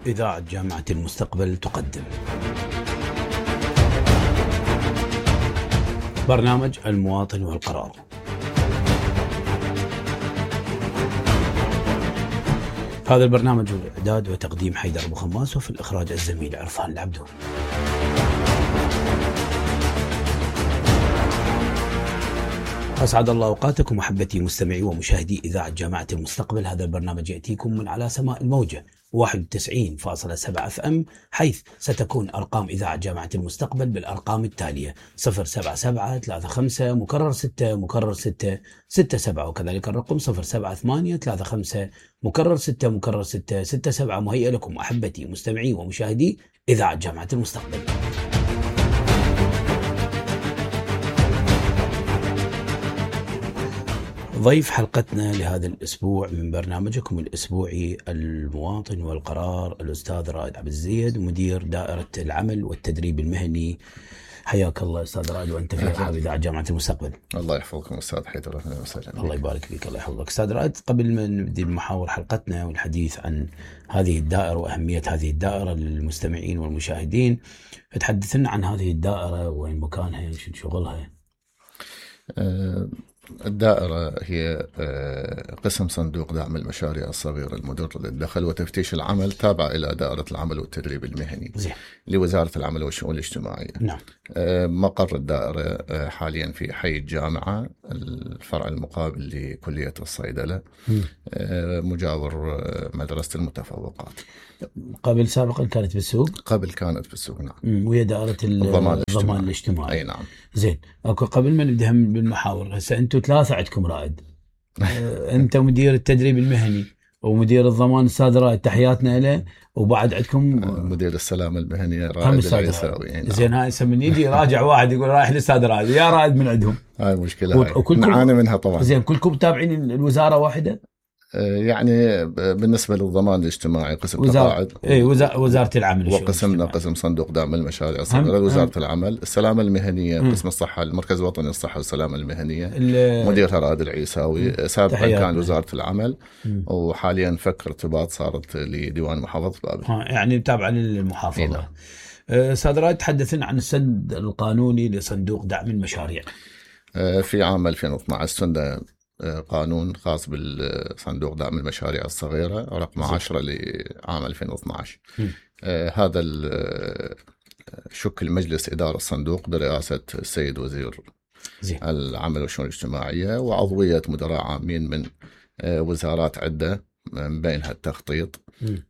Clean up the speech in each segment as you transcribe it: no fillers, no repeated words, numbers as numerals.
إذاعة جامعة المستقبل تقدم برنامج المواطن والقرار. هذا البرنامج الإعداد وتقديم حيدر أبو خماس، وفي الإخراج الزميل عرفان العبدو. أسعد الله أوقاتكم محبتي مستمعي ومشاهدي إذاعة جامعة المستقبل. هذا البرنامج يأتيكم من على سماء الموجة 91.7 FM، حيث ستكون أرقام إذاعة جامعة المستقبل بالأرقام التالية: 07735 مكرر 6 مكرر 6 67، وكذلك الرقم 07835 مكرر 6 مكرر 6 67. مهيئ لكم أحبتي مستمعي ومشاهدي إذاعة جامعة المستقبل. ضيف حلقتنا لهذا الأسبوع من برنامجكم الأسبوعي المواطن والقرار الأستاذ رائد عبد الزيد، مدير دائرة العمل والتدريب المهني. حياك الله أستاذ رائد، وأنت في أصحاب إذاعة جامعة المستقبل. الله يحفظكم أستاذ حيدر، أهلا وسهلا. الله يبارك فيك، الله يحفظك أستاذ رائد. قبل ما نبدأ بمحاور حلقتنا والحديث عن هذه الدائرة وأهمية هذه الدائرة للمستمعين والمشاهدين، تحدثنا عن هذه الدائرة، وين مكانها، شو شغلها؟ الدائرة هي قسم صندوق دعم المشاريع الصغيرة المدر للدخل وتفتيش العمل، تابعة إلى دائرة العمل والتدريب المهني لوزارة العمل والشؤون الاجتماعية. نعم. مقر الدائرة حاليا في حي الجامعة، الفرع المقابل لكلية الصيدلة، مجاور مدرسة المتفوقات. قبل سابقا كانت بالسوق؟ قبل كانت بالسوق، نعم. وهي دائرة الضمان الاجتماعي. أي نعم. زين، أكو قبل ما نبدأ بالمحاور، هسه أنتم ثلاثة عندكم رائد. أنت مدير التدريب المهني ومدير الضمان أستاذ رائد، تحياتنا له. وبعد عندكم مدير السلامة المهنية رائد العيساوي. نعم. زين، هاي من يجي راجع واحد يقول رايح للأستاذ رائد، يا رائد من عندهم. هاي مشكلة، نعاني منها طبعا. زين، كلكم تابعين الوزارة واحدة؟ يعني بالنسبة للضمان الاجتماعي قسم تقاعد، وزارة العمل، وقسمنا قسم صندوق دعم المشاريع الصغيرة وزارة العمل. السلامة المهنية قسم الصحة، المركز الوطني للصحة والسلامة المهنية، مديرها رائد العيساوي. سابقا كان وزارة العمل، وحاليا فك ارتباط صارت لديوان محافظة بابل. يعني تابعة للمحافظة. أستاذ رائد، تحدثنا عن السد القانوني لصندوق دعم المشاريع. في عام 2012 سن قانون خاص بالصندوق دعم المشاريع الصغيرة رقم 10 لعام 2012. هذا شكل مجلس إدارة الصندوق برئاسة السيد وزير العمل والشؤون الاجتماعية، وعضوية مدراء عامين من وزارات عدة، من بينها التخطيط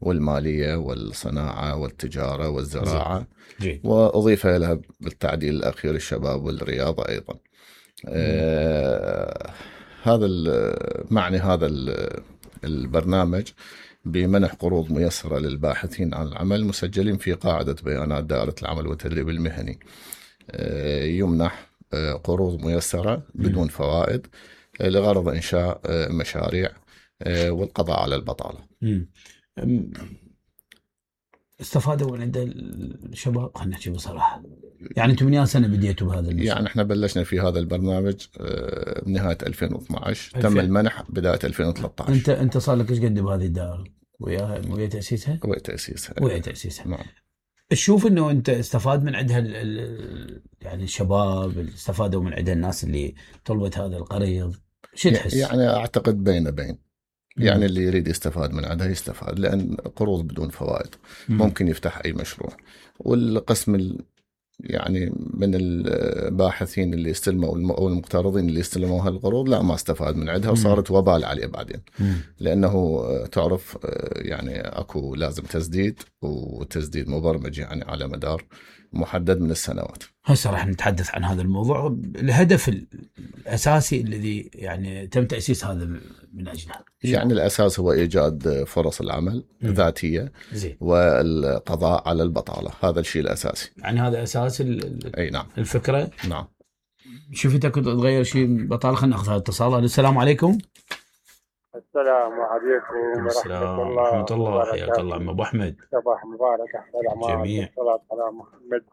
والمالية والصناعة والتجارة والزراعة، وأضيف لها بالتعديل الأخير الشباب والرياضة أيضا. هذا معني هذا البرنامج بمنح قروض ميسرة للباحثين عن العمل مسجلين في قاعدة بيانات دائرة العمل والتدريب المهني. يمنح قروض ميسرة بدون فوائد لغرض إنشاء مشاريع والقضاء على البطالة. استفادوا من عند الشباب، خلينا نحكي بصراحة. يعني انتم من اي سنه بديتوا بهذا المشروع؟ يعني احنا بلشنا في هذا البرنامج بنهايه 2012، تم المنح بدايه 2013. انت صار لك ايش قد بهذه الدائره؟ ويا تاسيسها؟ ويا تاسيسها. نعم. تشوف انه انت استفاد من عندها يعني الشباب استفادوا من عندها، الناس اللي طلبت هذا القريض، شو تحس؟ يعني اعتقد بين يعني اللي يريد يستفاد من عندها يستفاد، لأن قروض بدون فوائد ممكن يفتح أي مشروع. والقسم يعني من الباحثين اللي استلموا أو المقترضين اللي استلموا هالقروض لا، ما استفاد من عندها، وصارت وبال عليه بعدين. لأنه تعرف يعني أكو لازم تسديد، وتسديد مبرمج يعني على مدار محدد من السنوات. هسه راح نتحدث عن هذا الموضوع. الهدف الأساسي الذي يعني تم تأسيس هذا من أجله، يعني الأساس هو إيجاد فرص العمل ذاتية والقضاء على البطالة. هذا الشيء الأساسي، يعني هذا أساس أي نعم. الفكرة. نعم. شفتك تغير شيء بطالة. خلينا نأخذ هذا الاتصال. السلام عليكم. السلام عليكم ورحمة الله. حياك الله عم أبو أحمد. صباح مبارك أحسن جميع. الصلاة على محمد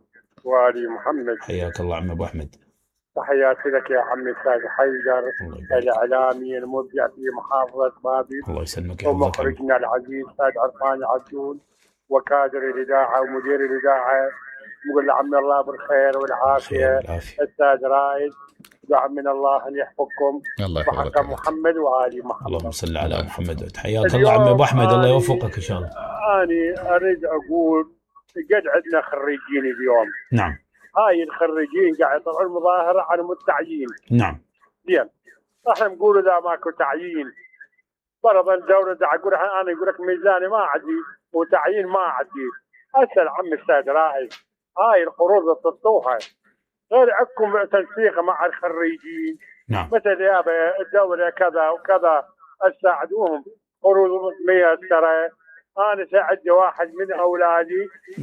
وآل محمد. حياك الله عم أبو أحمد. تحياتي لك يا عمي الأستاذ حيدر، الإعلامي المبدع في محافظة بابل. الله يسلمك ومخرجنا العزيز أستاذ عرفان العبدو، وكادر الاذاعه ومدير الاذاعه، نقول له عمي الله بالخير والعافيه. استاذ رائد دعم الله ان يحفظكم بحق محمد وآل محمد. اللهم صل على محمد. حياك الله عمي ابو احمد، الله يوفقك ان شاء الله. انا اريد اقول قد عندنا خريجين اليوم. نعم. هاي الخريجين قاعد يطلعون مظاهره عن التعيين. نعم. زين. احنا نقول اذا ماكو تعيين فرضا الدوله تقول انا يقول لك ميزاني ما عندي وتعيين ما عندي. اسال عم استاذ رائد، هاي القروض اللي تعطوها غير عندكم تنسيق مع الخريجين. نعم. مثل يا الدوله كذا وكذا تساعدوهم قروض ميسره. انا ساعدت واحد من اولادي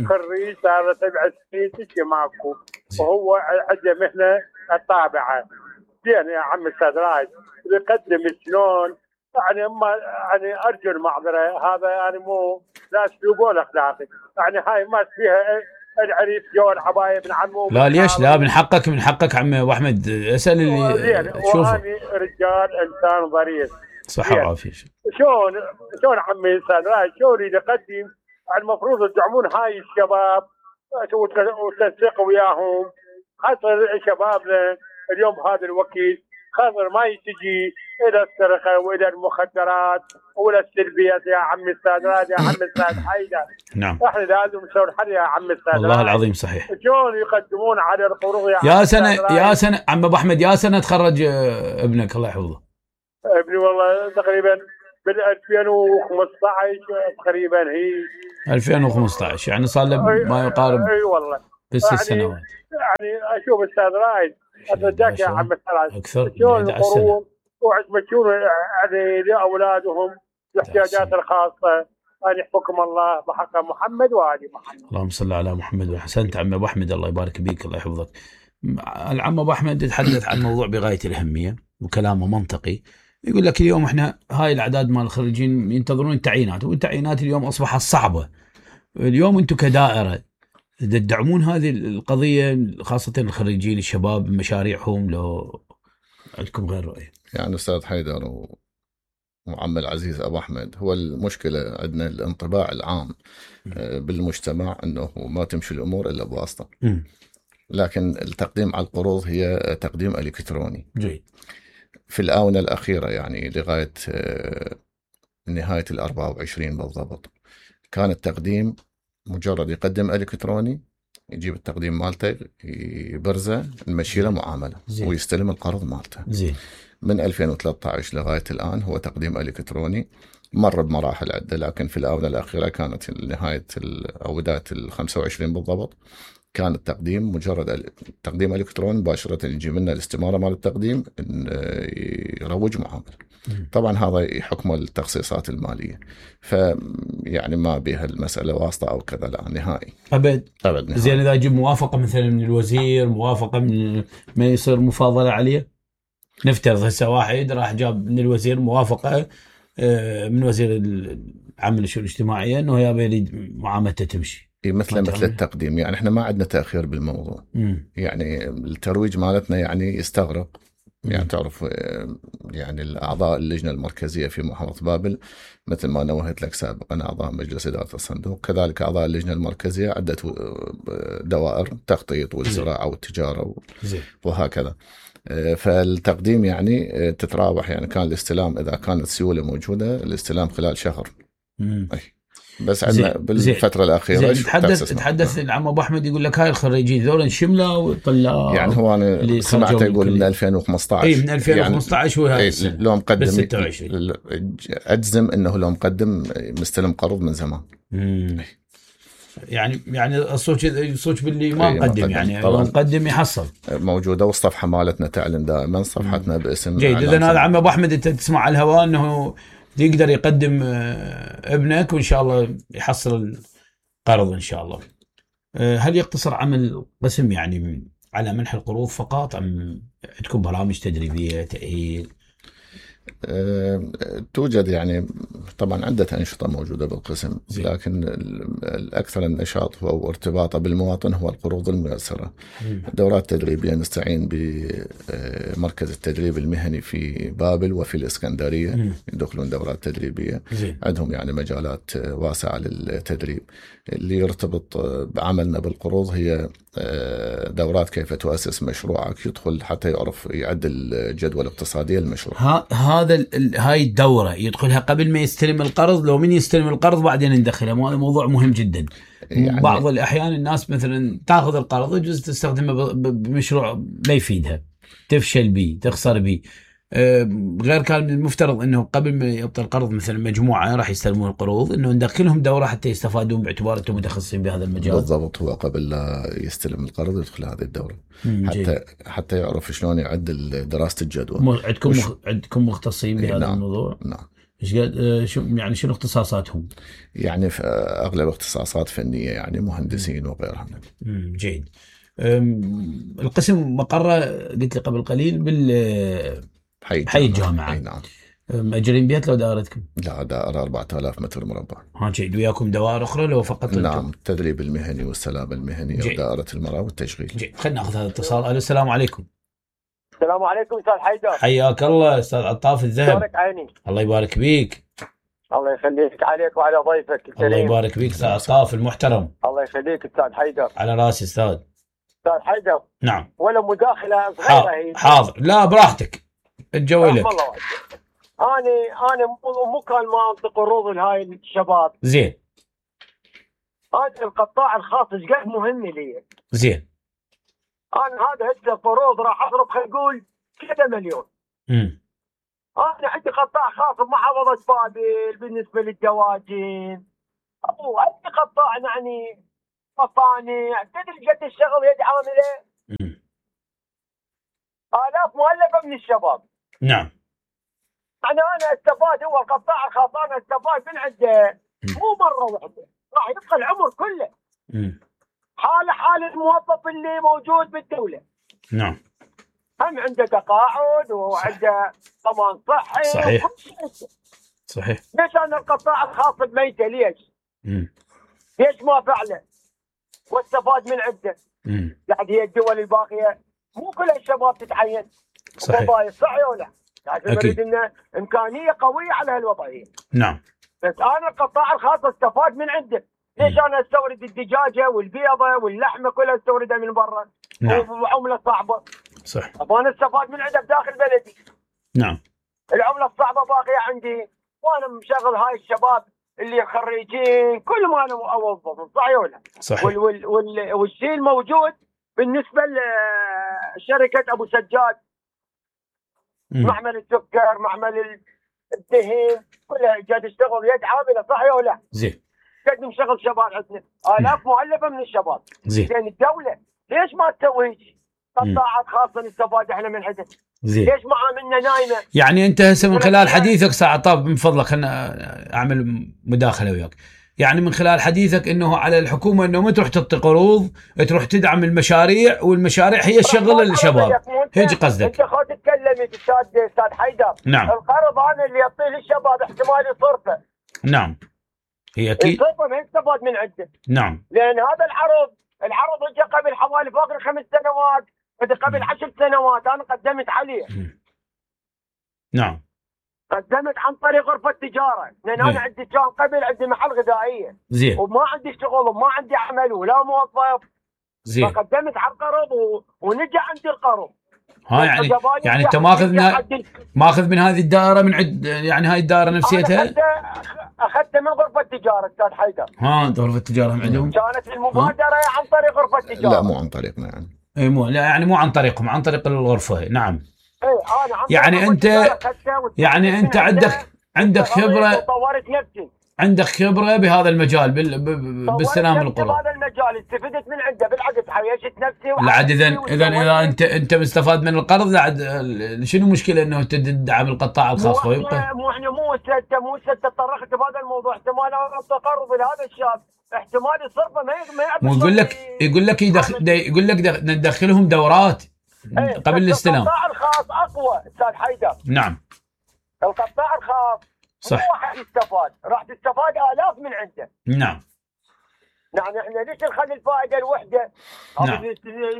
خريج صار 7 سنين تجي ماكو وهو عنده مهنه الطابعه. زين يا عم استاذ رائد يقدم شلون يعني ارجو المعذره، هذا يعني مو لا اسلوب ولا اخلاقي. يعني هاي ما فيها العريس جو العبايه ابن عمه. لا ليش؟ لا من حقك عمي ابو احمد، اسال اللي تشوفه. رجال انسان ظريف صحه وعافيه. شلون عمي استاذ رائد شلون يقدم؟ المفروض تدعمون هاي الشباب وتنسقوا وياهم، خاصه شبابنا اليوم بهذا الوقت خاطر ما يتجي الى السرقه والى المخدرات والى السلبيات يا عم استاذ رائد يا عم استاذ حيدر. نعم. احنا لازم نسوي الحل يا عم استاذ والله العظيم صحيح. شلون يقدمون على القروض يا سنه عم ابو احمد، يا سنه تخرج ابنك الله يحفظه؟ ابني والله تقريبا بال 2015 تقريبا هي 2015 يعني صار له ما يقارب. اي والله 6 سنوات. يعني اشوف استاذ رائد اصدقك يا عم استاذ اكثر شلون القروض وعجبتون يعني لاولادهم الاحتياجات الخاصه ان يحفظكم الله بحق محمد وآل محمد. اللهم صل على محمد. وحسنت عم ابو احمد، الله يبارك بيك الله يحفظك. العم ابو احمد يتحدث عن موضوع بغايه الاهميه وكلامه منطقي. يقول لك اليوم احنا هاي الاعداد مال الخريجين ينتظرون التعيينات، والتعيينات اليوم اصبحت صعبه. اليوم انتم كدائره تدعمون هذه القضيه خاصه الخريجين الشباب بمشاريعهم، لو عندكم غير رؤيه؟ يعني استاذ حيدر وعم العزيز ابو احمد، هو المشكله عندنا الانطباع العام بالمجتمع انه ما تمشي الامور الا بواسطه. لكن التقديم على القروض هي تقديم الكتروني. جيد. في الآونة الأخيرة يعني لغاية نهاية 24 بالضبط كان التقديم مجرد يقدم إلكتروني، يجيب التقديم مالته يبرزه نمشي له معاملة ويستلم القرض مالته. زين. من 2013 لغاية الآن هو تقديم إلكتروني، مر بمراحل عدة، لكن في الآونة الأخيرة كانت نهاية أو بداية 25 بالضبط كان التقديم مجرد تقديم الكتروني مباشره، يجي لنا الاستماره مال التقديم يروج معامله. طبعا هذا حكم التخصيصات الماليه، فيعني ما بها المساله واسطه او كذا، لا نهائي ابد نهائي. زين اذا اجيب موافقه مثلا من الوزير، موافقه من ما يصير مفاضله عليه. نفترض هسه واحد راح جاب من الوزير موافقه من وزير العمل والشؤون الاجتماعيه انه يريد معاملته تمشي مثل التقديم. يعني احنا ما عندنا تأخير بالموضوع. يعني الترويج مالتنا يعني يستغرق. يعني تعرف يعني الأعضاء اللجنة المركزية في محافظة بابل مثل ما نوهت لك سابقا أعضاء مجلس إدارة الصندوق، كذلك أعضاء اللجنة المركزية عدة دوائر تخطيط والزراعة والتجارة وهكذا. فالتقديم يعني تتراوح، يعني كان الاستلام إذا كانت سيولة موجودة الاستلام خلال شهر. بس عندنا بالفترة الأخيرة تحدث العم أبو أحمد يقول لك هاي الخريجين ذولا شملة وطلاب. يعني هو أنا سمعته يقول من 2015. من 2015 هو هذا لو مقدم أجزم إنه لو مقدم مستلم قرض من زمان. يعني الصوت باللي ما مقدم، يعني لو مقدم يحصل موجودة، والصفحة مالتنا تعلن دائما صفحتنا باسم. جيد. إذن هذا عم أبو أحمد أنت تسمع على الهواء أنه يقدر يقدم ابنك وإن شاء الله يحصل القرض إن شاء الله. هل يقتصر عمل قسم يعني على منح القروض فقط، أم عندكم برامج تدريبية تأهيل؟ توجد يعني طبعا عدة أنشطة موجودة بالقسم، لكن الأكثر النشاط هو ارتباطه بالمواطن هو القروض الميسرة. دورات تدريبية نستعين بمركز التدريب المهني في بابل وفي الإسكندرية، يدخلون دورات تدريبية. عندهم يعني مجالات واسعة للتدريب. اللي يرتبط بعملنا بالقروض هي دورات كيف تؤسس مشروعك، يدخل حتى يعرف يعدل الجدوى الاقتصادية للمشروع. هاي الدورة يدخلها قبل ما يستلم القرض، لو من يستلم القرض بعدين ندخلها؟ هذا موضوع مهم جدا. يعني بعض الأحيان الناس مثلا تأخذ القرض يجوز تستخدمه بمشروع لا يفيدها، تفشل به، تخسر به. غير كان المفترض انه قبل ما يعطي القرض مثلا مجموعه راح يستلمون القروض انه ندخلهم دوره حتى يستفادون باعتبار انهم متخصصين بهذا المجال. بالضبط، هو قبل لا يستلم القرض يدخل هذه الدوره حتى يعرف شلون يعدل دراسه الجدوى. عندكم مختصين بهذا نعم. الموضوع؟ نعم. يعني شنو اختصاصاتهم؟ يعني في اغلب اختصاصات فنيه، يعني مهندسين وغيرهم. جيد. القسم مقره قلت لي قبل قليل حي الجامعة. نعم. مأجرين بيت لو دائرتكم؟ لا، دائرة 4000 متر مربع. جيد. وياكم دوائر أخرى لو فقط؟ نعم، التدريب المهني والسلام المهني ودائرة المرأة والتشغيل. جيد. خلينا نأخذ هذا الاتصال. ألو، السلام عليكم. السلام عليكم أستاذ حيدر. حياك الله أستاذ عطاف الذهب. شلونك عيني؟ الله يبارك بيك. الله يخليك، عليك وعلى ضيفك الكريم. الله يبارك بيك أستاذ عطاف المحترم. الله يخليك أستاذ حيدر. على راسي أستاذ. أستاذ حيدر. نعم. ولا مداخلة صغيرة هي؟ حاضر. لا براحتك، الجو لك. أنا مو كان ما أنطي قروض لهاي الشباب. زين. هذا القطاع الخاص ايش قد مهم لي. زين. أنا هذا هسه قروض راح أضرب خلينا نقول كذا مليون. أنا عندي قطاع خاص بمحافظة بابل بالنسبة للدواجن، أو أي قطاع يعني مصانع، تدري قد الشغل يد عاملة؟ آلاف مؤلفة من الشباب. نعم. أنا استفاد، هو القطاع الخاص أنا استفاد من عنده مو مرة واحدة، راح يبقى العمر كله. حال الموظف اللي موجود بالدولة. نعم. هم عنده تقاعد وعنده ضمان صحي. صحيح. ليش أنا القطاع الخاص بميته ليش؟ ليش ما فعله واستفاد من عنده؟ يعني هي الدول الباقية مو كل الشباب تتعين. صحيح. صحيح ولا؟ لكن نريد إنه إمكانية قوية على هالوضعية. نعم. بس أنا القطاع الخاص استفاد من عنده. ليش أنا استورد الدجاجة والبيضة واللحمة كلها استوردها من برا؟ نعم. وعملة صعبة. صح. أنا استفاد من عنده بداخل بلدي. نعم. العملة الصعبة باقية عندي، وأنا مشغل هاي الشباب اللي خريجين كل ما أنا أوظفهم. صحيح ولا؟ صحيح. والشيء الموجود بالنسبة لشركة أبو سجاد، معمل السكر، معمل الدهن، كلها قاعد تشتغل يد عاملة. صحيح ولا؟ زين. قاعد نشغل شباب عندنا آلاف مؤلفة من الشباب. زين. يعني الدولة ليش ما تسوي هيك؟ قطاعات خاصة نستفاد احنا من عندها. زين. ليش معاملنا نايمة؟ يعني انت هسه من خلال حديثك ساعة طاب من فضلك خلنا اعمل مداخلة وياك. يعني من خلال حديثك انه على الحكومة انه ما تروح تعطي قروض، تروح تدعم المشاريع، والمشاريع هي الشغل للشباب. هيك قصدك؟ انت خذ تتكلمي استاذ حيدر. نعم. القرض انا اللي يعطيه للشباب احتمال يصرفه. نعم. هي اكيد. يصرفه ما يستفاد من عنده. نعم. لان هذا العرض اجى قبل حوالي فوق 5 سنوات، قبل 10 سنوات انا قدمت عليه. نعم. قدمت عن طريق غرفة تجارة، لأن أنا عندي كان قبل عندي محل غذائية. زين. وما عندي شغل وما عندي عمل ولا موظف. زين. فقدمت على القرض ونجى عندي القرض. يعني أنت ماخذ من هذه الدائرة من عند، يعني هاي الدائرة نفسيتها؟ أخذت من غرفة تجارة أستاذ حيدر. غرفة التجارة عندهم؟ كانت المبادرة عن طريق غرفة تجارة. لا مو عن طريقنا يعني. اي مو، لا يعني مو عن طريقهم، عن طريق الغرفة. نعم. يعني انت عندك خبرة، طورت نفسي، عندك خبرة بهذا المجال باستلام القروض. بهذا المجال استفدت من عنده، بالعكس عيشت نفسي. لعد اذا انت مستفاد من القرض، لعد شنو المشكلة انه تدعم القطاع الخاص ويبقى؟ مو تطرقت بهذا الموضوع. احتمال التقرض لهذا الشاب احتمال الصرفه ما مو يقول لك ندخلهم دورات قبل الاستلام. القطاع الخاص اقوى استاذ حيدر. نعم. القطاع الخاص صح. مو واحد يستفاد، راح تستفاد آلاف من عنده. نعم. يعني احنا ليش نخلي الفائده الوحده؟ نعم.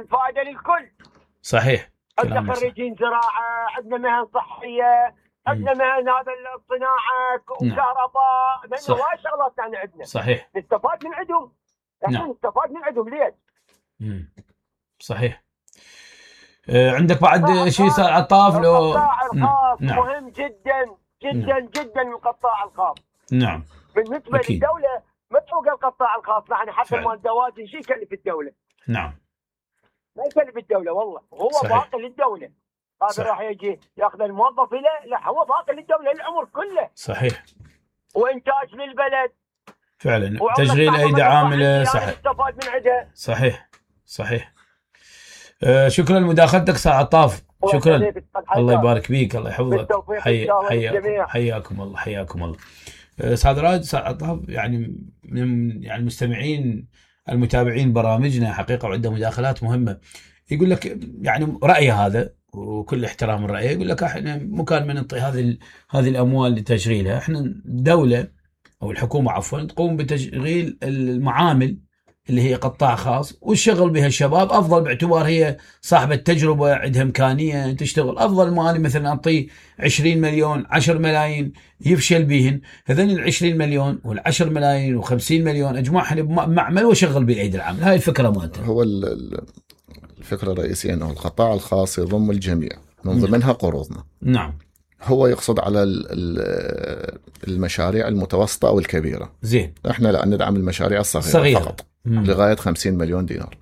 الفائده للكل. صحيح. عندنا خريجين زراعه، عندنا مهن صحيه، عندنا مهن هذا الصناعه وكهرباء، لانه هواي شغلات يعني عندنا. صحيح. نستفاد من عندهم. احنا نستفاد من عندهم ليش؟ صحيح. عندك بعد شيء صار عطاف لو القطاع الخاص مهم جدا جدا جدا القطاع الخاص. نعم. بالنسبه أكيد. للدوله متروك القطاع الخاص، يعني حتى مال الدواجن شيء يكلف الدوله. نعم. ما يكلف الدوله والله، هو باقي للدوله. هذا راح يجي ياخذ الموظف له، لا هو باقي للدوله العمر كله. صحيح. وانتاج للبلد فعلا، تشغيل ايدي عامله. صحيح. استفاد من عندها. صحيح صحيح. شكرا لمداخلتك استاذ عطاف، شكرا. الله يبارك فيك، الله يحفظك. حياكم الله، حياكم الله. استاذ رائد، استاذ عطاف يعني من يعني المستمعين المتابعين برامجنا حقيقه، وعنده مداخلات مهمه. يقول لك يعني رايه هذا، وكل احترام الراي، يقول لك احنا مو كان من نعطي هذه الاموال لتشغيلها. احنا الدوله او الحكومه عفوا تقوم بتشغيل المعامل اللي هي قطاع خاص، والشغل بها الشباب افضل، باعتبار هي صاحبه تجربه، عندها امكانيه تشتغل. افضل مالي مثلا اعطيه 20 مليون 10 ملايين يفشل بهن، هذين ال 20 مليون وال10 ملايين و50 مليون اجمعهم بمعمل وشغل بالايدي العامله. هاي الفكره مالته. هو الفكره الرئيسيه انه القطاع الخاص يضم الجميع، من ضمنها قروضنا. نعم. هو يقصد على المشاريع المتوسطه او الكبيره. زين. احنا لا ندعم المشاريع الصغيره فقط. لغايه 50 مليون دينار.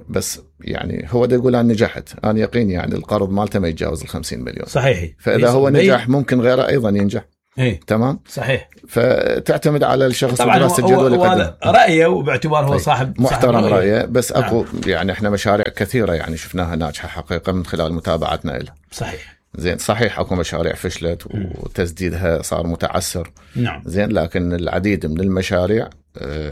بس يعني هو ده يقول أنا نجحت، أنا يقين يعني القرض مالته ما يتجاوز 50 مليون. صحيح. فإذا هو نجح ممكن غيره أيضا ينجح. تمام. صحيح. فتعتمد على الشخص دراسة الجدوى اللي قدم رأيه، وباعتبار هو صاحب محترم رأيه. بس أكو يعني إحنا مشاريع كثيرة يعني شفناها ناجحة حقيقة من خلال متابعتنا لها. صحيح. زين. صحيح اكو مشاريع فشلت وتسديدها صار متعسر. نعم. زين. لكن العديد من المشاريع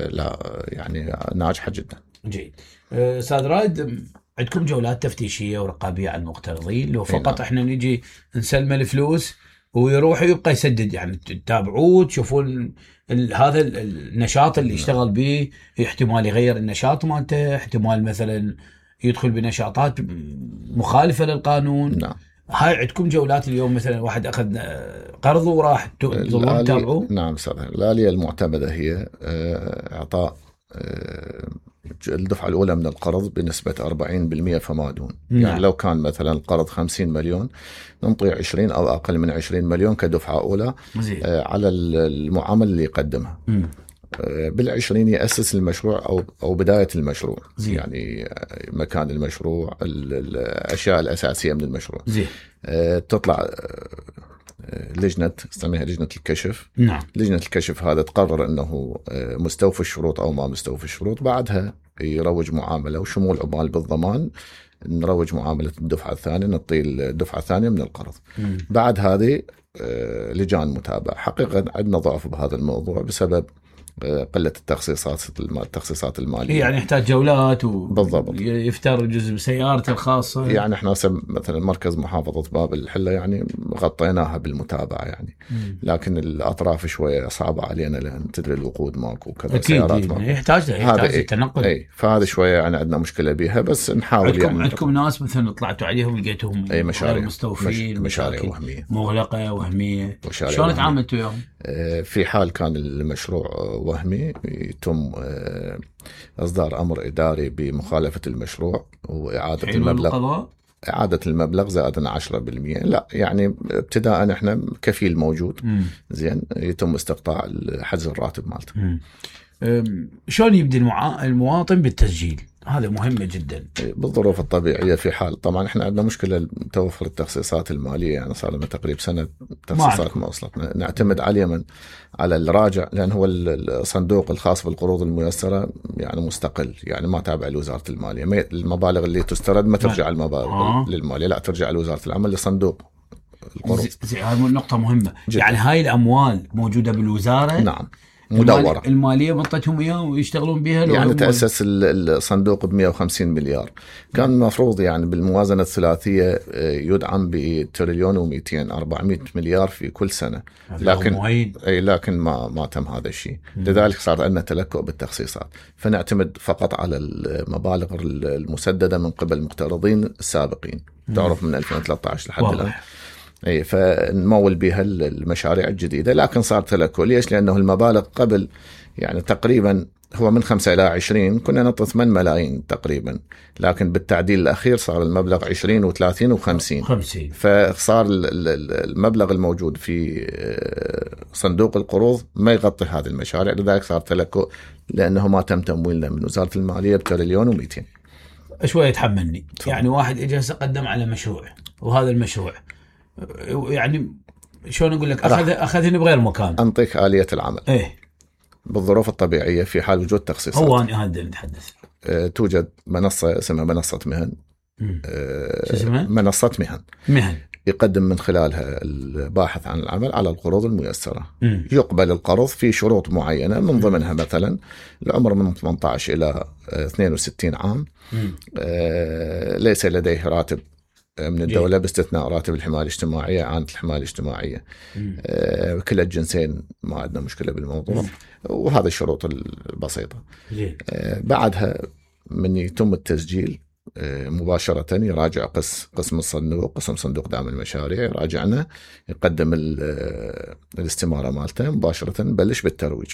لا يعني ناجحة جدا. جيد. استاذ رائد، عندكم جولات تفتيشيه ورقابيه على المقترضين؟ لو فقط احنا نجي نسلم الفلوس ويروح يبقى يسدد، يعني تتابعوه تشوفون هذا النشاط اللي اشتغل به، احتمال يغير النشاط مالته، احتمال مثلا يدخل بنشاطات مخالفه للقانون. نعم. هاي عندكم جولات اليوم مثلا واحد اخذ قرض وراح تظلون تتابعوه؟ نعم استاذ. الآلية المعتمده هي اعطاء الدفعه الاولى من القرض بنسبه 40% فما دون. يعني لو كان مثلا القرض 50 مليون ننطي 20 او اقل من 20 مليون كدفعه اولى على المعامل اللي يقدمها. بال20 يأسس المشروع أو بداية المشروع. يعني مكان المشروع، الأشياء الأساسية من المشروع. تطلع لجنة اسمها لجنة الكشف. نعم. لجنة الكشف هذا تقرر أنه مستوفي الشروط أو ما مستوفي الشروط. بعدها يروج معاملة وشمول عمال بالضمان، نروج معاملة الدفعة الثانية، نعطي الدفعة الثانية من القرض. بعد هذه لجان متابعة. حقيقة عندنا ضعف بهذا الموضوع بسبب قلة التخصيصات المالية. يعني يحتاج جولات بالضبط. يفتر جزء بسيارته الخاصة. يعني احنا مثلا مركز محافظة باب الحلة يعني غطيناها بالمتابعة يعني. لكن الأطراف شوية صعبة علينا، لأن تدري الوقود ماكو وكذا، سيارات ماكو، يحتاج التنقل. فهذه شوية يعني عندنا مشكلة بها، بس نحاول. عندكم ناس مثلا طلعتوا عليهم لقيتهم مشاريع مستوفين، مشاريع وهمية مغلقة وهمية. شلون تعاملتوا يوم؟ في حال كان المشروع وهمي يتم إصدار أمر إداري بمخالفة المشروع وإعادة المبلغ. إعادة المبلغ زائدنا 10%. لا يعني ابتداء احنا كفيل موجود. زين. يتم استقطاع حجز الراتب مالته. شلون يبدي المواطن بالتسجيل؟ هذا مهمة جدا. بالظروف الطبيعية، في حال طبعا احنا عندنا مشكلة توفر التخصيصات المالية، يعني صار لنا تقريبا سنة تخصيصات ما وصلتنا. نعتمد على اليمن على الراجع، لأن هو الصندوق الخاص بالقروض الميسرة يعني مستقل، يعني ما تابع لوزارة المالية. المبالغ اللي تسترد ما ترجع المبالغ للمالية، لا ترجع لوزارة العمل لصندوق القروض. هذه نقطة مهمة جداً. يعني هاي الأموال موجودة بالوزارة. نعم. مدورة. المالية بطتهم إياه ويشتغلون بها. يعني تأسس الصندوق ب150 مليار، كان المفروض يعني بالموازنة الثلاثية يدعم بتريليون و200 400 مليار في كل سنة، لكن ما تم هذا الشيء. لذلك صار عندنا تلكؤ بالتخصيصات، فنعتمد فقط على المبالغ المسددة من قبل المقترضين السابقين، تعرف من 2013 لحد الآن. فنمول بها المشاريع الجديدة، لكن صار تلكؤ. ليش؟ لأنه المبالغ قبل يعني تقريبا هو من 5 إلى 20 كنا نعطي 8 ملايين تقريبا، لكن بالتعديل الأخير صار المبلغ 20 و30 و50. فصار المبلغ الموجود في صندوق القروض ما يغطي هذه المشاريع، لذلك صار تلكؤ، لأنه ما تم تمويلنا من وزارة المالية بتريليون و200. شوية يتحملني يعني واحد إجا قدم على مشروع، وهذا المشروع يعني شلون أقول لك أخذني بغير مكان. أنطيك آلية العمل. بالظروف الطبيعية في حال وجود تخصيصات. هو أنا هذا نتحدث. توجد منصة اسمها منصة مهن. شو اسمها؟ منصة مهن. يقدم من خلالها الباحث عن العمل على القروض الميسرة. يقبل القرض في شروط معينة، من ضمنها مثلا العمر من 18 إلى 62 عام، ليس لديه راتب من الدولة باستثناء راتب الحماية الاجتماعية، عانة الحماية الاجتماعية، كلا الجنسين ما عندنا مشكلة بالموضوع. وهذه الشروط البسيطة. بعدها من يتم التسجيل مباشرة يراجع قسم الصندوق، قسم صندوق دعم المشاريع، يراجعنا، يقدم الاستمارة مالته مباشرة، نبلش بالترويج.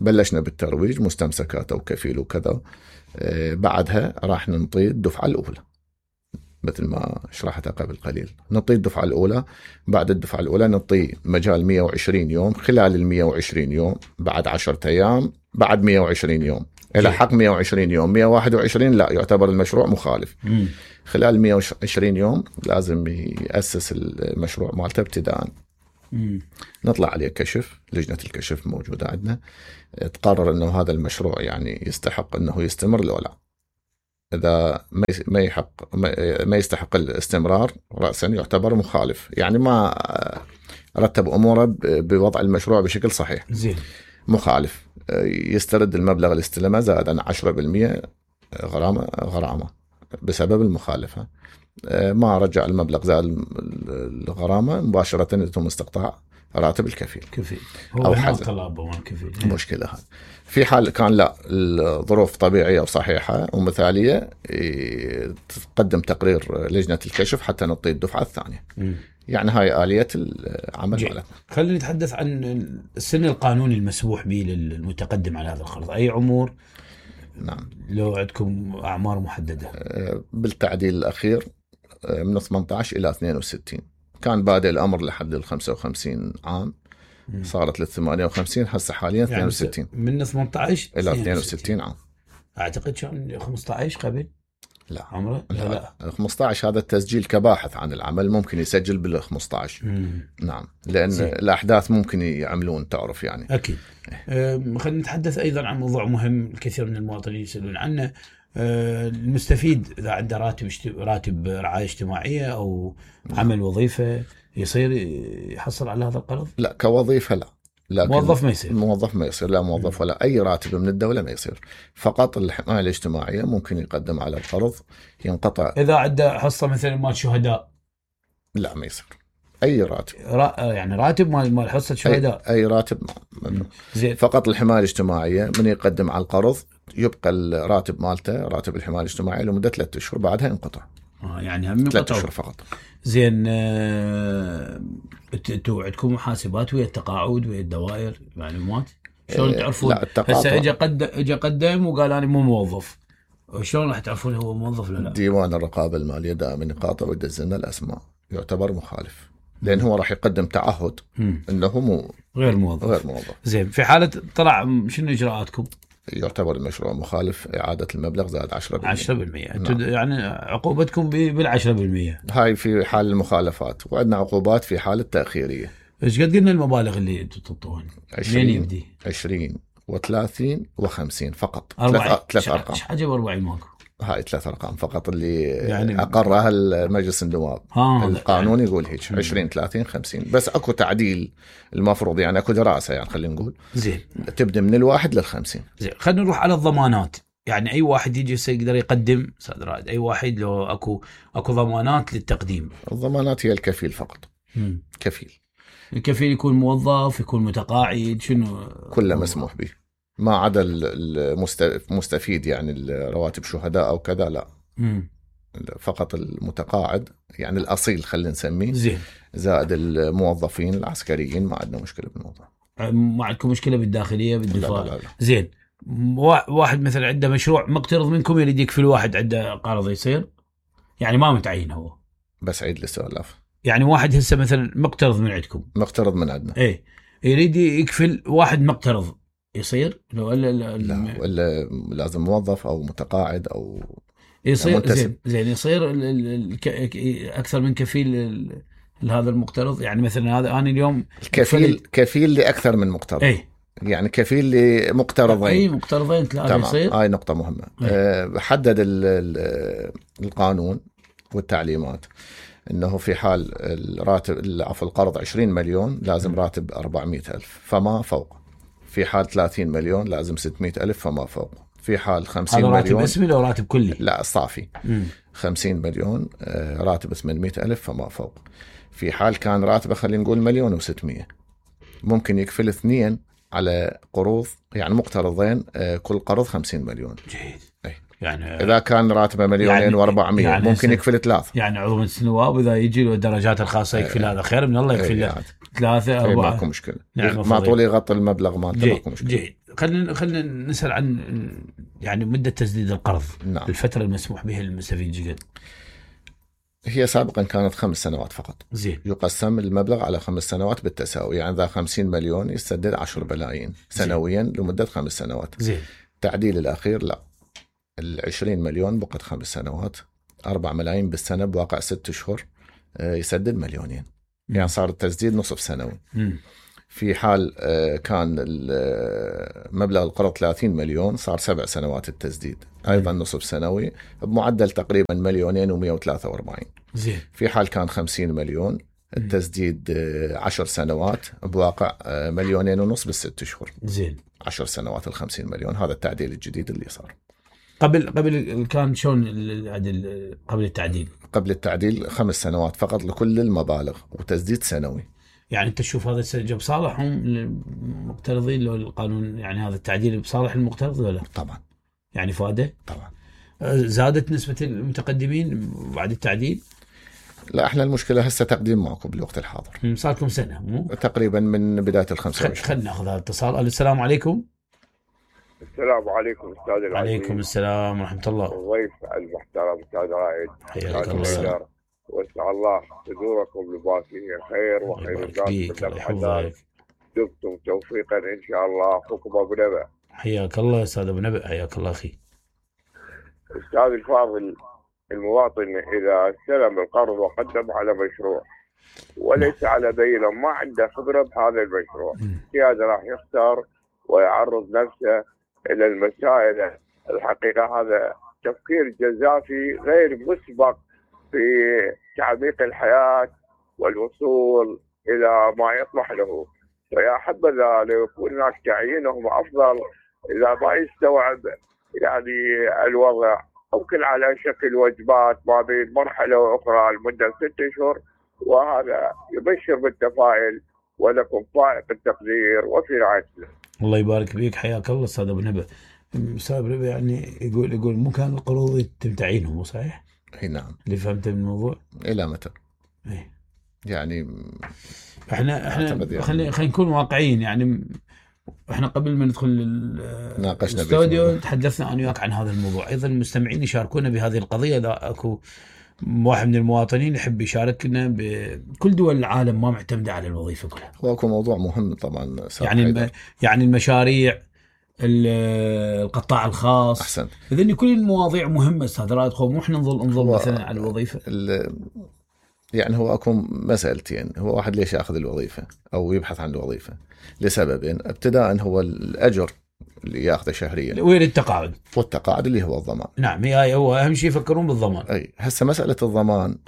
بلشنا بالترويج، مستمسكات أو كفيل وكذا. بعدها راح ننطي الدفعة الأولى مثل ما شرحتها قبل قليل. نعطي الدفعة الأولى، بعد الدفعة الأولى نعطي مجال 120 يوم، خلال 120 يوم بعد 10 أيام، بعد 120 يوم إلى حق 120 يوم 121 لا يعتبر المشروع مخالف. خلال 120 يوم لازم يأسس المشروع مالته ابتداء. نطلع عليه كشف، لجنة الكشف موجودة عندنا، تقرر أنه هذا المشروع يعني يستحق أنه يستمر لو لا. إذا ما يستحق الاستمرار رأسا يعتبر مخالف، يعني ما رتب أموره بوضع المشروع بشكل صحيح. زين. مخالف يسترد المبلغ اللي استلمه زائد عن 10% غرامة بسبب المخالفة. ما رجع المبلغ زائد الغرامة، مباشرة يتم استقطاع راتب الكفيل. أو حزم. مشكلة هذا. في حال كان لا الظروف طبيعية وصحيحة ومثالية، تقدم تقرير لجنة الكشف حتى نعطي الدفعة الثانية. يعني هاي آلية العمل مالتنا. خلينا نتحدث عن السن القانوني المسموح به للمتقدم على هذا القرض. أي عمر؟ نعم. لو عندكم أعمار محددة؟ بالتعديل الأخير من 18 إلى 62. كان بادئ الأمر لحد 55 عام، صارت 58، هسه حاليا 62. من 18 إلى 62 عام. أعتقد كان 15 قبل. لا عمره لا 15 هذا التسجيل كباحث عن العمل، ممكن يسجل بال15. نعم، لأن الأحداث ممكن يعملون، تعرف يعني. أكيد. خلينا نتحدث أيضا عن موضوع مهم الكثير من المواطنين يسألون عنه. المستفيد إذا عنده راتب رعاية اجتماعية أو عمل وظيفة يصير يحصل على هذا القرض؟ لا، كوظيفة لا. موظف ما يصير. لا موظف ولا أي راتب من الدولة ما يصير. فقط الحماية الاجتماعية ممكن يقدم على القرض، ينقطع. إذا عنده حصة مثلا مال شهداء لا ما يصير. أي راتب يعني راتب مال حصة شهداء، أي راتب فقط الحماية الاجتماعية من يقدم على القرض يبقى الراتب مالته راتب الحماية الاجتماعية لمدة 3 أشهر، بعدها ينقطع. يعني هم 3 أشهر فقط. زين. انتوا عندكم محاسبات ويا التقاعد ويا الدوائر معلومات؟ شلون تعرفون؟ هسه اجى قدم وقال انا مو موظف، شلون راح تعرفون هو موظف ولا لا؟ ديوان الرقابة المالية دائما يقاطع ويدز لنا الأسماء، يعتبر مخالف لأن هو راح يقدم تعهد انه غير موظف. زين، في حالة طلع شنو اجراءاتكم؟ يعتبر المشروع مخالف، إعادة المبلغ زائد 10%. نعم. يعني عقوبتكم بال10%. هاي في حال المخالفات، وعندنا عقوبات في حال التأخيرية. ايش قد قلنا المبالغ اللي انتم تعطوها؟ 20 و30 و50 فقط. 40. ثلاث أرقام. ايش حاجه 40 ماكو؟ هاي 3 أرقام فقط اللي يعني أقرها المجلس النواب. القانون يعني يقول هيك 20 30 50. بس أكو تعديل المفروض، يعني أكو دراسة، يعني خلينا نقول زين تبدأ من 1 لل50. زين خلينا نروح على الضمانات. يعني أي واحد يجي يقدر يقدم أستاذ رائد، أي واحد لو أكو ضمانات للتقديم. الضمانات هي الكفيل فقط. كفيل. الكفيل يكون موظف، يكون متقاعد، شنو كله مسموح به ما عدا المستفيد، يعني الرواتب شهداء أو كذا لا. فقط المتقاعد يعني الأصيل خلينا نسميه. زين. زائد الموظفين العسكريين ما عندنا مشكلة بالموضوع. ما عندكم مشكلة بالداخلية بالدفاع؟ لا. زين. واحد مثلا عنده مشروع مقترض منكم يريد يكفل واحد عنده قرض، يصير؟ يعني ما متعين هو؟ بس عيد السؤال. يعني واحد هسه مثلا مقترض من عندكم. مقترض من عندنا. ايه يريد يكفل واحد مقترض، يصير؟ لا ولا لازم موظف او متقاعد او يصير. زين يصير اكثر من كفيل لهذا المقترض. يعني مثلا هذا انا اليوم كفيل لاكثر من مقترض. ايه يعني كفيل لمقترضين. اي مقترضين 3 يصير. هاي نقطة مهمة. حدد القانون والتعليمات انه في حال الراتب القرض 20 مليون لازم راتب 400,000 فما فوق. في حال 30 مليون لازم 600,000 فما فوق. في حال 50 مليون راتب اسمي لو راتب كلي؟ لا صافي. 50 مليون راتب 800,000 فما فوق. في حال كان راتبه خلينا نقول 1,600,000 ممكن يكفل 2 على قروض، يعني مقترضين كل قرض 50 مليون. جيد. أي. يعني إذا كان راتبه 2,400,000 يعني ممكن يكفل 3. يعني عضو مجلس النواب إذا يجي له الدرجات الخاصة يكفل هذا خير من الله، يكفل له 3 4. ماكو مشكلة. ما طول يغطي المبلغ مالته ماكو مشكلة. جيد. خلينا نسأل عن يعني مدة تسديد القرض. نعم. الفترة المسموح بها للمستفيد جدا. هي سابقا كانت 5 سنوات فقط. زين. يقسم المبلغ على 5 سنوات بالتساوي، يعني إذا 50 مليون يسدد 10 بلايين سنويا لمدة 5 سنوات. زين. التعديل الأخير لا، 20 مليون بقت 5 سنوات 4 ملايين بالسنة بواقع 6 أشهر يسدد 2 مليون. يعني صار التسديد نصف سنوي. في حال كان مبلغ القرض 30 مليون صار 7 سنوات التسديد أيضا نصف سنوي بمعدل تقريبا 2,143. زين. في حال كان 50 مليون التسديد 10 سنوات بواقع 2,500,000 بالست أشهر. زين. 10 سنوات 50 مليون. هذا التعديل الجديد اللي صار. قبل كان شلون العدل قبل التعديل؟ قبل التعديل 5 سنوات فقط لكل المبالغ وتسديد سنوي. يعني انت تشوف هذا السجل بصالحهم المقترضين لو القانون، يعني هذا التعديل بصالح المقترض ولا؟ طبعا. يعني فاده؟ طبعا. زادت نسبة المتقدمين بعد التعديل؟ لا احنا المشكلة هسه تقديم معكم بالوقت الحاضر. صار لكم سنة مو؟ تقريبا من بداية 25. خلينا ناخذ هذا الاتصال. السلام عليكم. السلام عليكم استاذ العزيز. وعليكم السلام ورحمة الله. الضيف المحترم استاذ رائد. حياك الله. واسال الله صدوركم لباسيه خير وخير الناس. دمتم توفيقا ان شاء الله. اخوكم ابو نبأ. حياك الله استاذ ابو نبأ. حياك الله اخي. استاذ الفاضل، المواطن اذا استلم القرض وقدم على مشروع وليس على بينه ما عنده خبره بهذا المشروع، هذا راح يختار ويعرض نفسه الى المسائل. الحقيقه هذا تفكير جزافي غير مسبق في تعميق الحياه والوصول الى ما يطمح له. فيا حبذا لو يكون هناك تعيينهم افضل اذا ما يستوعب يعني الوضع، ممكن على شكل وجبات ما بين مرحله واخرى لمده 6 أشهر، وهذا يبشر بالتفاؤل ولكم فائق التقدير وفي رعايه الله. الله يبارك فيك. حياك الله استاذ ابو نبأ. استاذ ابو نبأ يعني يقول مو كان القروض يتم تعيينهم، مو صحيح؟ اي نعم. اللي فهمته من الموضوع الى متى؟ ايه يعني احنا خلينا نكون واقعيين. يعني احنا قبل ما ندخل الاستوديو تحدثنا انا وياك عن هذا الموضوع. ايضا المستمعين يشاركونا بهذه القضيه. اذا اكو واحد من المواطنين يحب يشاركنا. بكل دول العالم ما معتمده على الوظيفه كلها. هو اكو موضوع مهم طبعا يعني المشاريع، القطاع الخاص. احسن. اذن كل المواضيع مهمه استاذ رائد. مو احنا نظل مثلا على الوظيفه. يعني هو اكو مسألتين. هو واحد ليش ياخذ الوظيفه او يبحث عن الوظيفه؟ لسببين. ابتداء هو الاجر اللي ياخذه شهريا، وين التقاعد والتقاعد اللي هو الضمان. نعم، هو اهم شيء يفكرون بالضمان. اي هسه مساله الضمان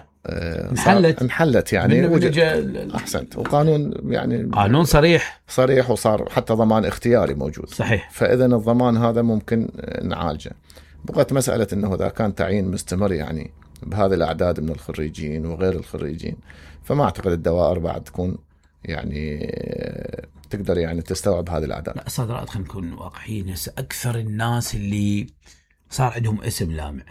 انحلت يعني احسنت، وقانون يعني قانون صريح، وصار حتى ضمان اختياري موجود. صحيح. فاذا الضمان هذا ممكن نعالجه. بقت مساله انه اذا كان تعيين مستمر يعني بهذه الاعداد من الخريجين وغير الخريجين، فما اعتقد الدوائر بعد تكون يعني تقدر يعني تستوعب هذه الاعداد. لا استاذ رائد، خلينا نكون واقعيين. هسه اكثر الناس اللي صار عندهم اسم لامع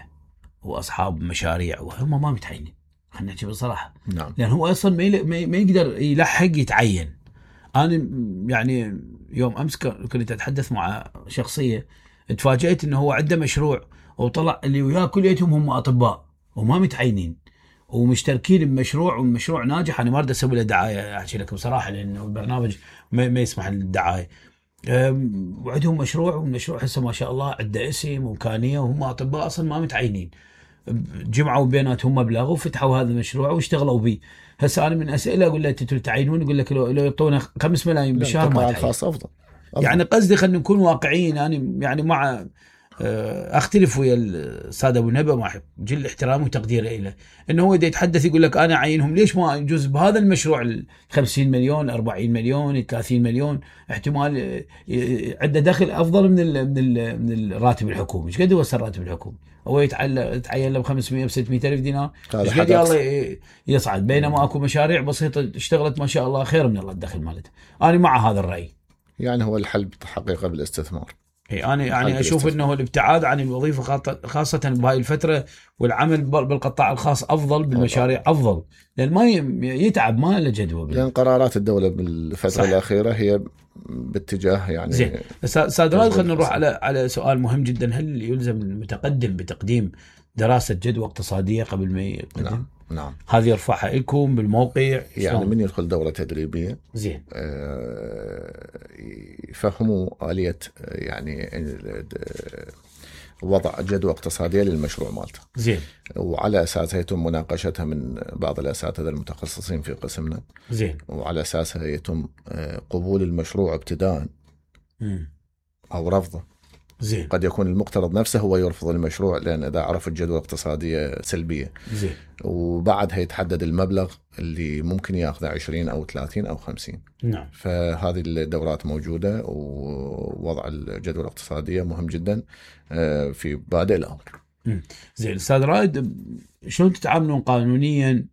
واصحاب مشاريع وهم ما متعينين، خلينا نحكي بصراحه. نعم. لان هو اصلا ما يقدر يلحق يتعين. انا يعني يوم امس كنت اتحدث مع شخصيه، تفاجأت انه هو عنده مشروع وطلع اللي وياه كليتهم هم اطباء وما متعينين ومشتركين بمشروع، والمشروع ناجح. انا ما اريد اسوي له دعايه احكي لك بصراحه، لانه البرنامج ما يسمح للدعايه. وعندهم مشروع، والمشروع هسه ما شاء الله عنده اسم وامكانيه، وهم اطباء اصلا ما متعينين. جمعوا بيناتهم مبلغ وفتحوا هذا المشروع واشتغلوا به. هسه انا من اسئله اقول له انتوا تعينون، يقول لك لو يعطونا 5 ملايين بالشهر ما الخاص افضل. يعني قصدي خلينا نكون واقعيين. انا يعني مع اختلف ويا الاستاذ ابو نبأ مع جل احترامي وتقديري له، انه هو دا يتحدث يقول لك انا اعينهم، ليش ما يجوز بهذا المشروع 50 مليون 40 مليون 30 مليون احتمال عنده دخل افضل من الراتب الحكومي. ايش قد هو الراتب الحكومي؟ هو يتعين له ب 500 ب 600 الف دينار، ايش قد الله يصعد، بينما اكو مشاريع بسيطه اشتغلت ما شاء الله خير من الله الدخل مالتها. انا مع هذا الراي. يعني هو الحل حقيقه بالاستثمار. انا يعني اشوف انه الابتعاد عن الوظيفه خاصه بهاي الفتره، والعمل بالقطاع الخاص افضل، بالمشاريع افضل، لان ما يتعب، ما له جدوى. لان قرارات الدوله بالفتره الاخيره هي باتجاه يعني زين. استاذ رائد، خلينا نروح على سؤال مهم جدا. هل يلزم المتقدم بتقديم دراسه جدوى اقتصاديه قبل ما يقدم؟ نعم. هذه يرفعها لكم بالموقع يعني من يدخل دوره تدريبيه زين يفهموا آلية يعني وضع جدوى اقتصادية للمشروع مالته. زين. وعلى أساسها يتم مناقشتها من بعض الأساتذة المتخصصين في قسمنا. زين. وعلى أساسها يتم قبول المشروع ابتداء أو رفضه. زين. قد يكون المقترض نفسه هو يرفض المشروع لأن إذا عرف الجدوى اقتصادية سلبية. زين. وبعدها يتحدد المبلغ اللي ممكن ياخذه 20 أو 30 أو 50. نعم. فهذه الدورات موجودة، ووضع الجدوى الاقتصادية مهم جدا في بادئ الأمر. زين. أستاذ رائد، شلون تتعاملون قانونيا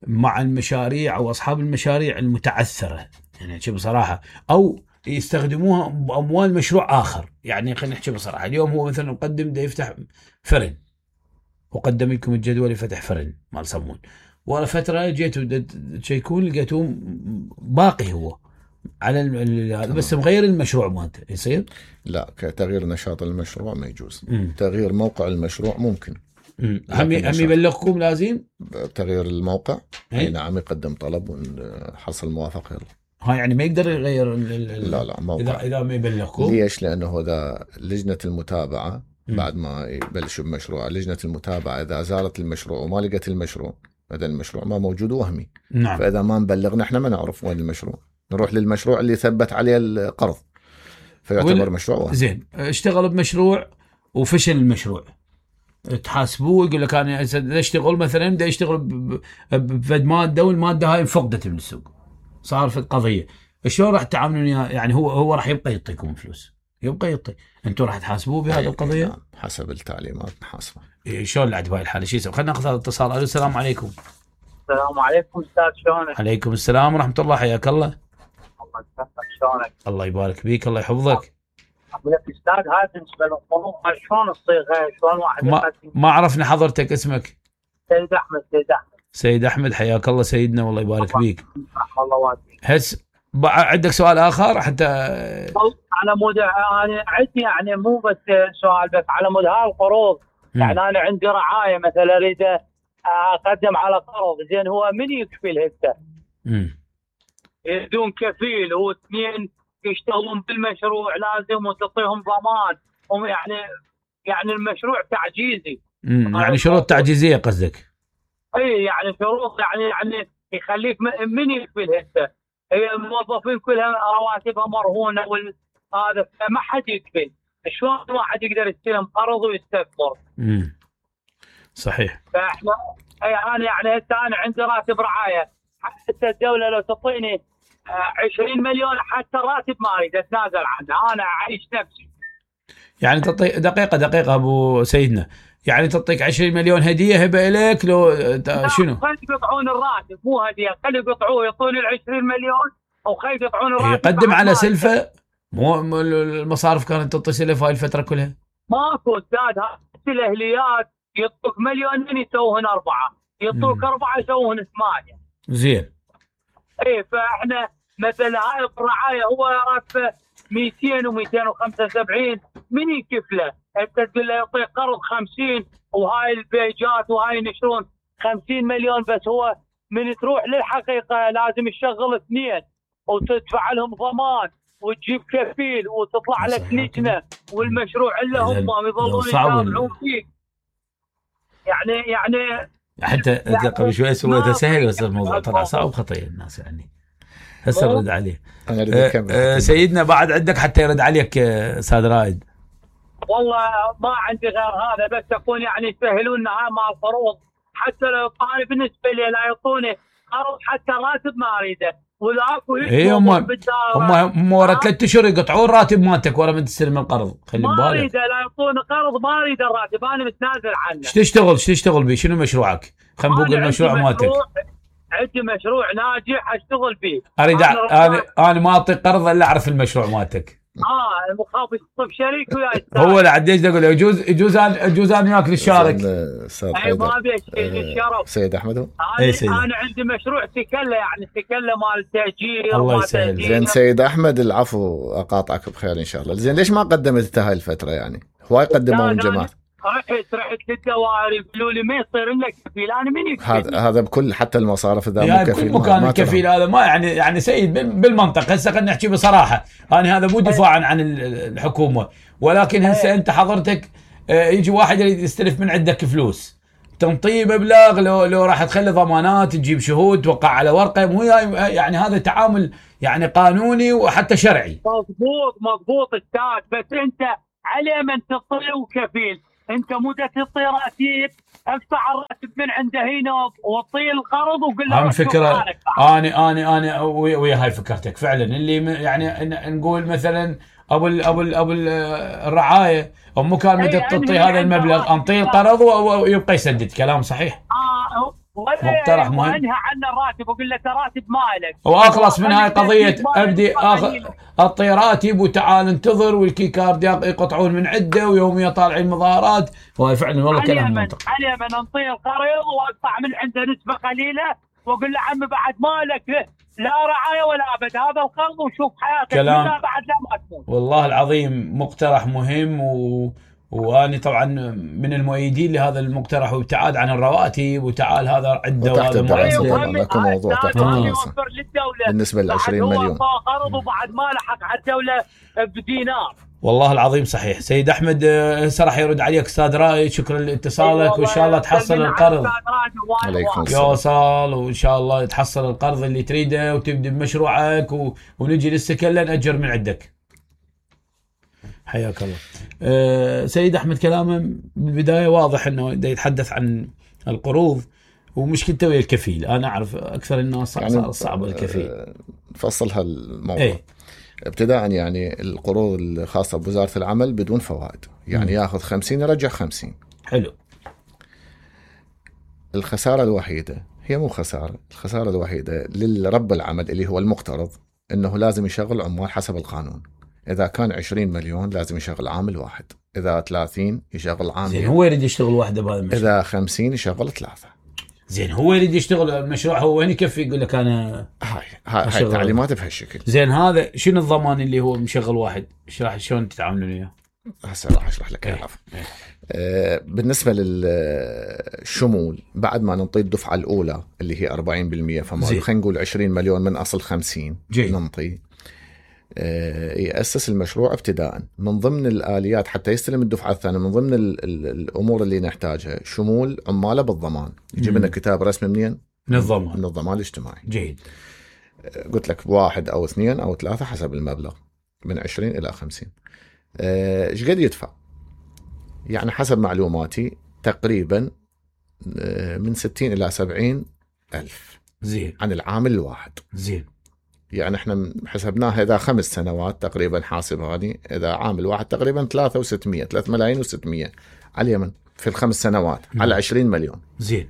مع المشاريع أو أصحاب المشاريع المتعثرة؟ يعني شو بصراحة، أو يستخدموها بأموال مشروع آخر. يعني خلينا نحكي بصراحة، اليوم هو مثلا مقدم ده يفتح فرن، وقدم لكم الجدول لفتح فرن مال صمون، ولا فترة جيتوا تشيكون لقيتوه باقي هو على هذا، بس مغير المشروع مالته، يصير؟ لا، كتغيير نشاط المشروع ما يجوز. تغيير موقع المشروع ممكن. هم يبلغكم لازم تغيير الموقع. اي نعم، يقدم طلب ونحصل موافقة. يلا ها، يعني ما يقدر يغير لا موقع إذا ما يبلغكم. ليش؟ لأنه هذا لجنة المتابعة بعد ما يبلشوا بمشروع، لجنة المتابعة إذا زارت المشروع وما لقت المشروع، هذا المشروع ما موجود وهمي. نعم. فإذا ما نبلغنا احنا ما نعرف وين المشروع، نروح للمشروع اللي ثبت عليه القرض، فيعتبر مشروع وهمي. زين. اشتغل بمشروع وفشل المشروع، تحاسبوه يقول لك أنا اشتغل مثلا بدي اشتغل بفد مادة والمادة هاي انفقدت من السوق، صار في قضية، شلون راح تتعاملون؟ يعني هو راح يبقى يعطيكم فلوس، يبقى يعطي، انتم راح تحاسبوه بهذه القضيه؟ نعم، حسب التعليمات نحاسبه. شلون العد بهاي الحاله؟ شو يسوي؟ خلينا ناخذ هذا الاتصال. السلام عليكم. السلام عليكم استاذ، شلونك؟ عليكم السلام ورحمه الله، حياك الله. الله يسلمك، شلونك؟ الله يبارك بيك، الله يحفظك. اقول لك استاذ، هاي بالنسبه للقروض شلون الصيغه؟ شلون واحد ما عرفنا حضرتك اسمك؟ سيد احمد. سيد احمد، حياك الله سيدنا، والله يبارك بيك. الله واسع. هس عندك سؤال اخر حتى على مود انا عندي يعني مو بس سؤال، بس على مود هالقروض. يعني انا عندي رعايه مثلا اريد اقدم على قرض، زين هو من يكفل هسه؟ بدون كفيل، واثنين يشتغلون بالمشروع لازم وتعطيهم ضمان، هم يعني المشروع تعجيزي. يعني شروط تعجيزيه قصدك؟ اي يعني شروط يعني يخليك من يكفل هسه. هي الموظفين كلها رواتبها مرهونه هذا ما حد يكفل. شلون واحد يقدر يستلم قرض ويستثمر؟ صحيح. فاحنا انا يعني انا عندي راتب رعايه، حتى الدوله لو تعطيني 20 مليون حتى راتب ما اريد اتنازل عنه، انا اعيش نفسي. يعني تعطي دقيقه ابو سيدنا، يعني تعطيك 20 مليون هديه هبه اليك لو شنو؟ خلي يقطعون الراتب، مو هديه، خلي يقطعوه يعطوني ال 20 مليون او خلي يقطعون الراتب. يقدم على سلفه، مو المصارف كانت تعطي سلف هاي الفتره كلها؟ ماكو استاذ، هاي الاهليات يعطوك مليونين يسوون 4، يعطوك 4 يسوون 8. زين. ايه فاحنا مثلا هاي الرعايه هو راتبه 200 و275، من يكفله؟ انت تقول له يعطيك قرض 50 وهاي البيجات وهاي ينشرون 50 مليون، بس هو من تروح للحقيقه لازم يشغل 2 وتدفع لهم ضمان وتجيب كفيل وتطلع لك لجنه، والمشروع اللي هم يظلون يتابعون فيك. يعني حتى قبل شوي سويته سهل، بس الموضوع طلع صعب خطير الناس يعني. هسه نرد عليه. سيدنا بعد عندك حتى يرد عليك استاذ رائد؟ والله ما عندي غير هذا، بس اكون يعني يسهلون لنا مع القروض، حتى لو انا بالنسبه لي لا يعطوني قرض حتى راتب ما اريده، ولاكو هم ورا 3 اشهر يقطعون راتب مالتك ورا ما تستلم القرض. خلي بالك. ما اريده، لا يعطوني قرض، ما اريد الراتب، انا متنازل عنه. ايش تشتغل به؟ شنو مشروعك؟ خلينا نقول المشروع مالتك. عندي مشروع ناجح اشتغل فيه. اريد انا ما اعطيك قرض الا اعرف المشروع مالتك. المخابز طب شريك وياي. هو لا عاد ايش اقول يجوز انا وياك نشارك. اي ما ابي الشرف. سيد احمد انا عندي مشروع سكله، يعني سكله مال تاجير. الله يسهل. زين سيد احمد، العفو اقاطعك بخير ان شاء الله. زين ليش ما قدمت انت هاي الفتره؟ يعني هواي قدموا من جماعه. رحت للدوائر يقولوا لي ما يصير لك كفيل. انا من يكفيل؟ هذا بكل حتى المصارف اذا مو كفيل مكان الكفيل هذا ما يعني سيد بالمنطق. هسه خلينا نحكي بصراحه، انا هذا مو دفاعا عن الحكومه، ولكن هسه انت حضرتك يجي واحد يريد يستلف من عندك فلوس، تنطيه مبلغ، لو راح تخلي ضمانات تجيب شهود توقع على ورقه، مو يعني هذا تعامل يعني قانوني وحتى شرعي. مضبوط استاذ، بس انت على من تعطيه وكفيل، انت مو تعطي راتب، ادفع الراتب من عنده هنا واعطيه القرض وقول له. هم فكره انا ويا هاي فكرتك فعلا، اللي يعني نقول مثلا ابو الرعايه مو كان متى تعطي هذا المبلغ، انطيه القرض ويبقى يسدد. كلام صحيح. مقترح مهم. وانهى عن الراتب وقول له راتب مالك، واخلص من هاي قضيه ابدي اعطي راتب وتعال انتظر والكيكارد يقطعون من عده ويوميا طالعين مظاهرات. وهي فعلا والله كلام منطقي. علي من انطيه القرض واقطع من عنده نسبه قليله واقول له عمي بعد مالك لا رعايه ولا ابد، هذا القرض وشوف حياتك كلام بعد لا ما تموت. والله العظيم مقترح مهم، وأنا طبعا من المؤيدين لهذا المقترح، وابتعاد عن الرواتب وتعال هذا عده وهذا ما عنده. لكن موضوع تحت الدراسة بالنسبة ل 20 مليون قرض وبعد ما لحق على الدولة بدينار. والله العظيم صحيح. سيد أحمد هسه راح يرد عليك أستاذ رائد. شكرا لاتصالك، وإن شاء الله تحصل القرض. يوصل وإن شاء الله تحصل القرض اللي تريده وتبدأ بمشروعك ونجي للسكن نأجر من عندك. حياك الله. سيد أحمد كلامه بالبداية واضح أنه يتحدث عن القروض ومشكلته ويا الكفيل. أنا أعرف أكثر الناس يعني صعب الكفيل. نفصل هالموضوع. ابتداء يعني القروض الخاصة بوزارة العمل بدون فوائد، يعني ياخذ 50 يرجع 50. حلو. الخسارة الوحيدة هي مو خسارة، الخسارة الوحيدة للرب العمل اللي هو المقترض أنه لازم يشغل عمال حسب القانون. إذا كان 20 مليون لازم يشغل عامل واحد، إذا 30 يشغل عامل. زين هو يريد يشتغل واحدة بهذا المشروع. إذا 50 يشغل 3. زين هو يريد يشتغل المشروع، هو وين يكفي يقول لك أنا هاي تعليمات بهالشكل. زين هذا شنو الضمان اللي هو مشغل واحد؟ شلون تتعاملون وياه؟ هسه راح أشرح لك. بالنسبة للشمول بعد ما ننطي الدفعة الأولى اللي هي 40%، فما خلينا نقول 20 مليون من أصل 50 ننطي. يأسس المشروع ابتداء. من ضمن الآليات حتى يستلم الدفعة الثانية، من ضمن الأمور اللي نحتاجها شمول عماله بالضمان. يجيب لنا كتاب رسمي منين؟ من الضمان الاجتماعي. جيد. قلت لك 1 أو 2 أو 3 حسب المبلغ. من 20 إلى 50. ايش قد يدفع؟ يعني حسب معلوماتي تقريبا من 60 إلى 70 ألف زين عن العامل الواحد. زين. يعني احنا حسبناها إذا 5 سنوات تقريبا، حاسب هذه إذا عامل واحد تقريبا 3 ملايين و600 على اليمن في ال5 سنوات على 20 مليون. زين.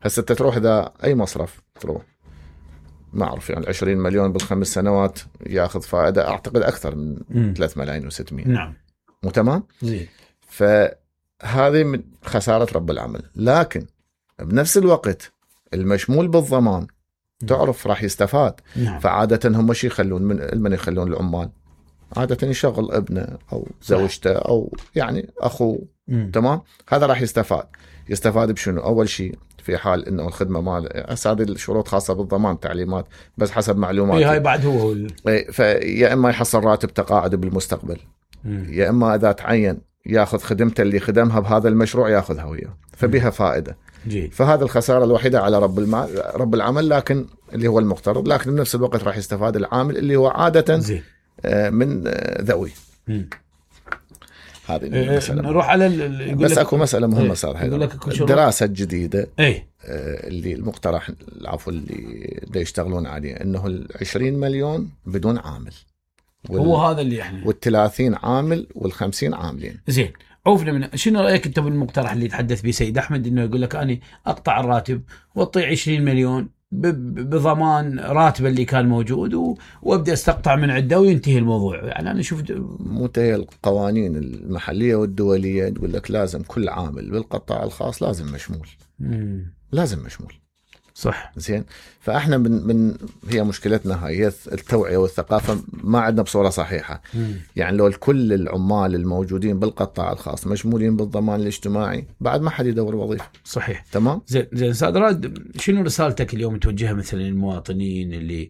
هسه تروح إذا أي مصرف تروح ما أعرف يعني 20 مليون بال5 سنوات ياخذ فائدة أعتقد أكثر من 3 ملايين و600. نعم. مو تمام؟ زين. فهذه من خسارة رب العمل. لكن بنفس الوقت المشمول بالضمان تعرف راح يستفاد. نعم. فعادة هم شي يخلون من يخلون العمال عادة يشغل ابنه أو زوجته أو يعني أخوه. تمام. هذا راح يستفاد بشنو؟ أول شيء في حال إنه الخدمة مال هذه الشروط خاصة بالضمان تعليمات بس حسب معلوماتي. هاي بعد هو فيا إما يحصل راتب تقاعد بالمستقبل، يا إما إذا تعين ياخذ خدمته اللي خدمها بهذا المشروع ياخذها وياه، فبها فائدة. فهذا الخسارة الوحيدة على رب العمل، لكن اللي هو المقترض، لكن بنفس الوقت راح يستفاد العامل اللي هو عادة من ذوي. هذه نروح على بس اكو مسألة مهمة صار هذا الدراسة الجديدة اللي المقترح العفو اللي دا يشتغلون عليه انه 20 مليون بدون عامل، هو هذا اللي احنا وال30 عامل وال50 عاملين. زين. عوفنا من شنو رأيك انت بالمقترح اللي تحدث به سيد احمد، انه يقول لك انا اقطع الراتب واعطي 20 مليون بضمان راتب اللي كان موجود وابدا استقطع من عنده وينتهي الموضوع. يعني انا شفت منتهي القوانين المحليه والدوليه تقول لك لازم كل عامل بالقطاع الخاص لازم مشمول. لازم مشمول. صح. زين. فاحنا من هي مشكلتنا هي التوعيه والثقافه، ما عندنا بصوره صحيحه. يعني لو كل العمال الموجودين بالقطاع الخاص مشمولين بالضمان الاجتماعي بعد ما حد يدور وظيفه. صحيح. تمام. زين استاذ راد، شنو رسالتك اليوم توجهها مثلا للمواطنين اللي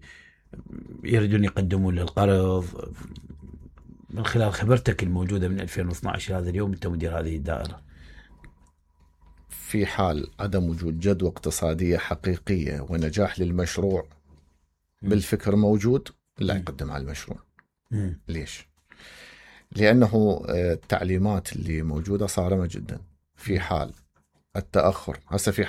يريدون يقدمون للقرض من خلال خبرتك الموجوده من 2012 هذا اليوم انت مدير هذه الدائره؟ في حال عدم وجود جدوى اقتصادية حقيقية ونجاح للمشروع بالفكر موجود لا يقدم على المشروع. ليش؟ لأنه التعليمات اللي موجودة صارمة جدا. في حال التأخر هسه في